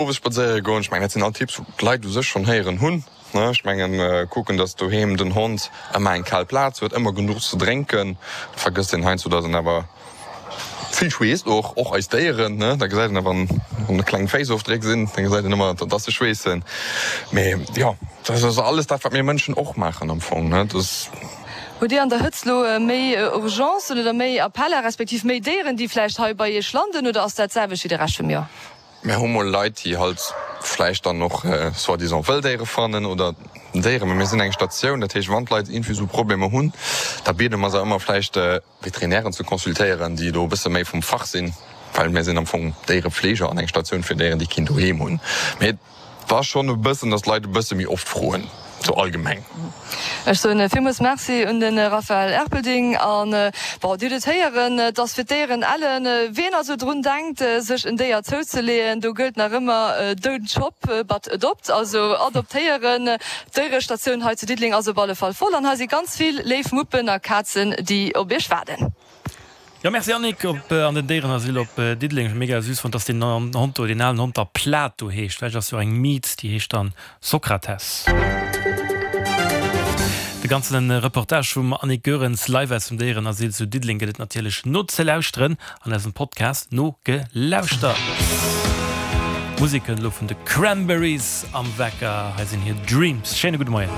Owes spadséiere goen, ech mengen dat sinn all Tipps wou d'Leit u sech schonn héieren hunn. Ech mengen kucken, datt doheem den Hond ëmmer eng kal Plaz huet, ëmmer genuch ze drénken. Et vergësst een heiansdo, datt en awer vill schweesst, och och eis Déieren. Da gesäit een wann wann kleng Féissofdréck sinn, da gesäit een ëmmer, datt se schweessen. Mee jo, dat ass alles dat wat mir Mënschen och maachen am Fong. Hutt Dir an der Hëtzt lo méi Urgencen oder méi Appeller, respektiv méi Déieren, déi vläicht hei bei Iech landen, oder ass dat d'selwecht wéi de Rescht vum Joer? Mir hu mol Leit, déi halt vläicht dann och soi-disant Wëlldéiere fannen oder Déieren, mä mir sinn eng Statioun, dat heescht, wann d'Leit iergendwéi esou Problemer hunn, da biede mer se ëmmer vläicht Veterinären ze consultéieren, déi do e bësse méi vum Fach sinn, well mir sinn am Fong Déierepfleger an eng Statioun fir Déieren, déi keen Doheem hunn. Mee Et ass schonn e bëssen, datt d'Leit e bësse méi oft froen, sou allgemeng. Ech soen villmools Merci un de Raphaël Erpelding. An, bon, Dir hutt et héieren, et ass fir d'Déieren ellen. Wien also drun denkt, sech en Déier zouzeleeën, do gëllt nach ëmmer Don't shop, but adopt, also adoptéieren. D'Déierestatioun hei zu Diddeleng ass op alle Fall voll an hei si ganz vill léif Muppen a Kazen, déi op Iech waarden. Jo merci Annick, op an den Déierenasyl op Diddeleng. Ech hu mega süß fonnt dass deen Hond do, deen alen Hond da Plato heescht. Vläicht ass jo och eng Miet déi heescht dann Sokrates. De ganzen Reportage vum Annick Goerens live aus dem Déierenasyl zu Diddeleng gëtt et natierlech nozelauschteren an eisem Podcast Nogelauschtert. Musek kënnt elo vun de Cranberries am Wecker. Hei sinn hir Dreams. Schéine gudde Moien.